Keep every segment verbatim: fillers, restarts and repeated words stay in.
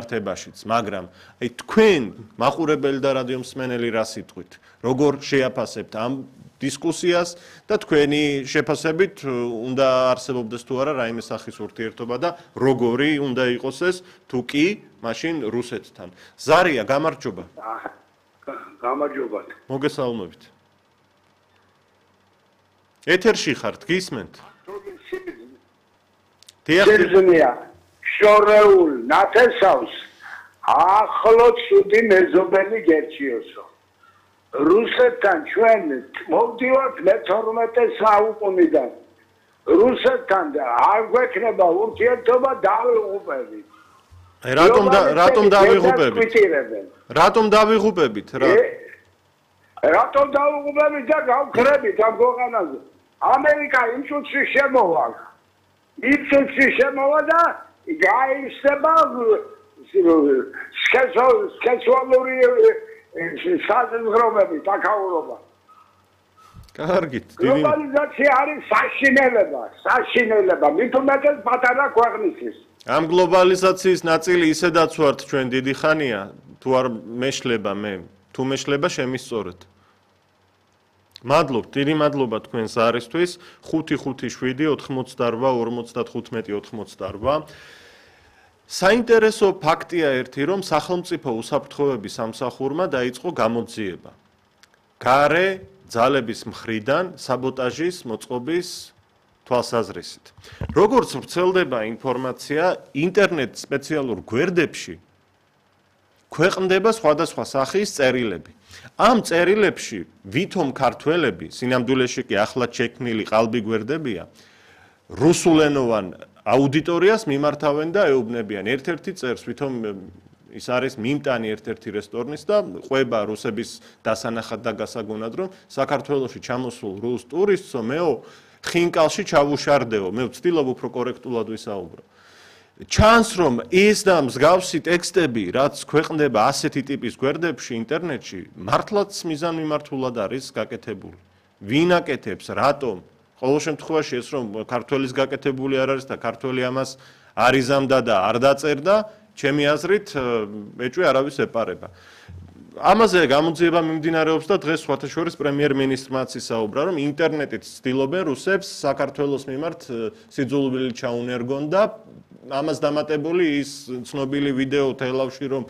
მიმართებაშიც, მაგრამ აი თქვენ მაყურებელი და რადიო მსმენელი რა სიტყვით, როგორ შეაფასებთ ამ დისკუსიას და თქვენი შეფასებით უნდა არსებობდეს თუ არა რაიმე სახის ურთიერთობა და როგორი უნდა იყოს ეს თუ კი მაშინ რუსეთთან. ზარია, გამარჯობა. გამარჯობა. მოგესალმებით. ეთერში ხართ, გისმენთ? შეძნია შორეულ ნათესავს ახლო ცუდი მეზობელი გერჩიოსო. რუსეთთან ჩვენ მოვდივართ მეთორმეტე საუკუნიდან. რუსეთთან არ გვექნება ურთიერთობა დავიღუპებით. რატომ რატომ დავიღუპებით? რატომ დავიღუპებით? რატომ დავიღუპებით და გავქრებით ამ ქვეყანაზე? ამერიკა იმ წუთში შემოვა. იმ წუთში შემოვა და გაიხსნება სქესუალური საზღვრები, თაკაურობა. კარგით. გლობალიზაცია არის საშინელება, საშინელება, მით უმეტეს პატარა ქვეყნისთვის. ამ გლობალიზაციის ნაწილი ისედაც ვართ ჩვენ დიდი ხანია, თუ არ მეშლება მე, თუ მეშლება შემისწორეთ. მადლობთ, დიდი მადლობა თქვენს არისთვის. ხუთი ხუთი შვიდი ოთხმოცდაორვა ორმოცდახუთმეტი ოცდაორვა. საინტერესო ფაქტია ერთი, რომ სახელმწიფო უსაფრთხოების სამსახურმა დაიწყო გამოძიება. გარე ძალების მხრიდან საბოტაჟის მოწყობის თვალსაზრისით. როგორც ვრცელდება ინფორმაცია ინტერნეტ სპეციალურ გვერდებში ქვეყნდება სხვადასხვა სახის წერილები. ამ წერილებში ვითომ ქართველები, სინამდვილეში კი ახლად შექმნილი ყალბი გვერდებია, რუსულენოვან აუდიტორიას მიმართავენ და ეუბნებიან. ერთ-ერთი წერს, ვითომ ის არის მიმტანი ერთ-ერთი რესტორნის და ყვება რუსების დასანახად და გასაგონად, რომ საქართველოში ჩამოსულ რუს ტურისტსო მეო ხინკალში ჩავუშარდეო, მე ვცდილობ უფრო კორექტულად ვისაუბრო. ჩანს რომ ეს და მსგავსი ტექსტები, რაც ქვეყნდება ასეთი ტიპის გვერდებში ინტერნეტში, მართლაც მიზანმიმართულად არის გაკეთებული. ვინ აკეთებს, რატომ? ყოველ შემთხვევაში ეს რომ ქართველის გაკეთებული არ არის და ქართველი ამას არ იზამდა და არ დაწერდა, ჩემი აზრით ეჭვი არავის ეპარება. ამაზე გამოძიება მიმდინარეობს და დღეს სხვათა შორის პრემიერ-მინისტრმაც ისაუბრა, რომ ინტერნეტით ცდილობენ რუსებს საქართველოს მიმართ სიძულვილი ჩაუნერგონ და ამას დამატებული ის ცნობილი ვიდეო თელავში, რომ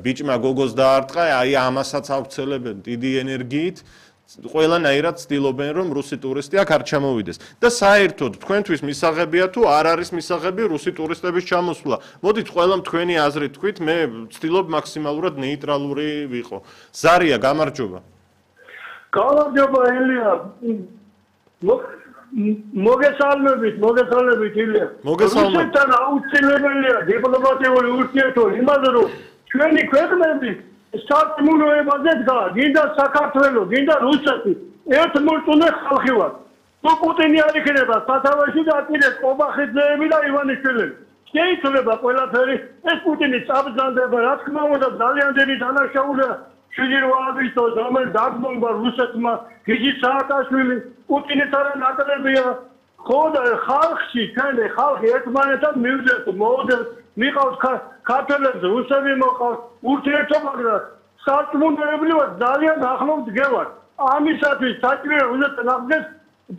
ბიჭმა გოგოს დაარტყა, აი ამასაც ავრცელებენ დიდი ენერგიით. ყველანაირად ცდილობენ, რომ რუსი ტურისტი აქ არ ჩამოვიდეს. და საერთოდ თქვენთვის მისაღებია თუ არ არის მისაღები რუსი ტურისტების ჩამოსვლა. მოდით ყველამ თქვენი აზრი თქვით, მე ვცდილობ მაქსიმალურად ნეიტრალური ვიყო. ზარია, გამარჯობა. გამარჯობა ელია. მოგესალმებით, მოგესალმებით ილია. მოგესალმებით. რუსეთთან აუცილებელია დიპლომატიური ურთიერთობა, იმაზე რომ ჩვენი ქვეყნები სარწმუნოებაზე დგა, გინდა საქართველო, გინდა რუსეთი, ერთმორწმუნე ხალხი ვართ. თუ პუტინი არ იქნება სათავეში და აპირებს ყობახიძეები და ივანიშვილები. შეიძლება ყველაფერი ეს პუტინი წაბრძანდება, რა თქმა უნდა, ძალიან დიდი დანაშაულია შვიდი რვა აგვისტოს, რომელიც დაგმონდა რუსეთმა, გიგი სააკაშვილი, პუტინის არა ნაკლებია. ხო და ხალხში, ჩვენი ხალხი ერთმანეთთან მივიდეს, მოვიდეს, მიყავს ქართველებს, რუსები მოყავს, ურთიერთობა გრას, სარწმუნოებლივად ძალიან ახლოს დგევართ. ამისათვის საჭიროა რუსეთთან აღდგეს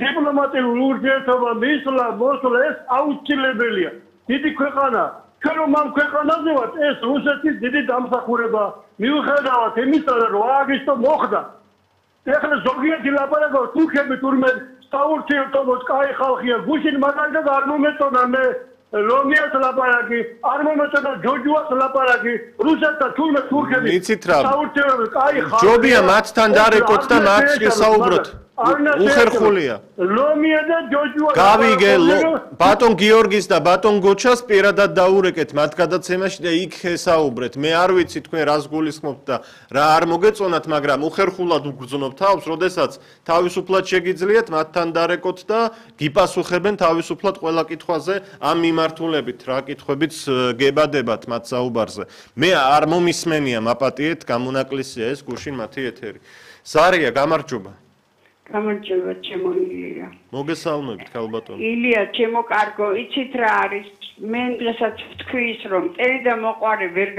დიპლომატიური ურთიერთობა, მისვლა, მოსვლა, ეს აუცილებელია. დიდი ქვეყანა, ჩვენ რომ ამ ქვეყანაზე ვართ, ეს რუსეთის დიდი დამსახურება. მიუხედავად იმისა, რომ რვა აგვისტო მოხდა. ეხლა ზოგიერთი ლაპარაკობს, თურქები თურმე საურთიერთობოდ კაი ხალხია, გუშინ მაგალითად არ მომეწონა მე ლომიას ლაპარაკი, არ მომეწონა ჯოჯუას ლაპარაკი, რუსეთთან თურმე თურქები საურთიერთობოდ კაი ხალხია. ჯობია მათთან დარეკოთ და მათ შესაუბროთ. უხერხულია. ლომია და ჯოჯუა გავიგე ბატონ გიორგის და ბატონ გოჩას პირადად დაურეკეთ მათ გადაცემაში და იქ ესაუბრეთ. მე არ ვიცი თქვენ რას გულისხმობთ და რა არ მოგეწონათ, მაგრამ უხერხულად უგრძნობ თავს, როდესაც თავისუფლად შეგიძლიათ მათთან დარეკოთ და გიპასუხებენ თავისუფლად ყველა კითხვაზე ამ მიმართულებით, რა კითხვებიც გებადებათ მათ საუბარზე. მე არ მომისმენია მაპატიეთ, გამონაკლისია ეს გუშინ მათი ეთერი. ზარია, გამარჯობა. გამარჯობა, ჩემო ილია. მოგესალმებით, ქალბატონო. ილია, ჩემო კარგო, იცით რა არის? მე დღესაც ვთქვი ის, რომ წელი და მოყვარე ვერ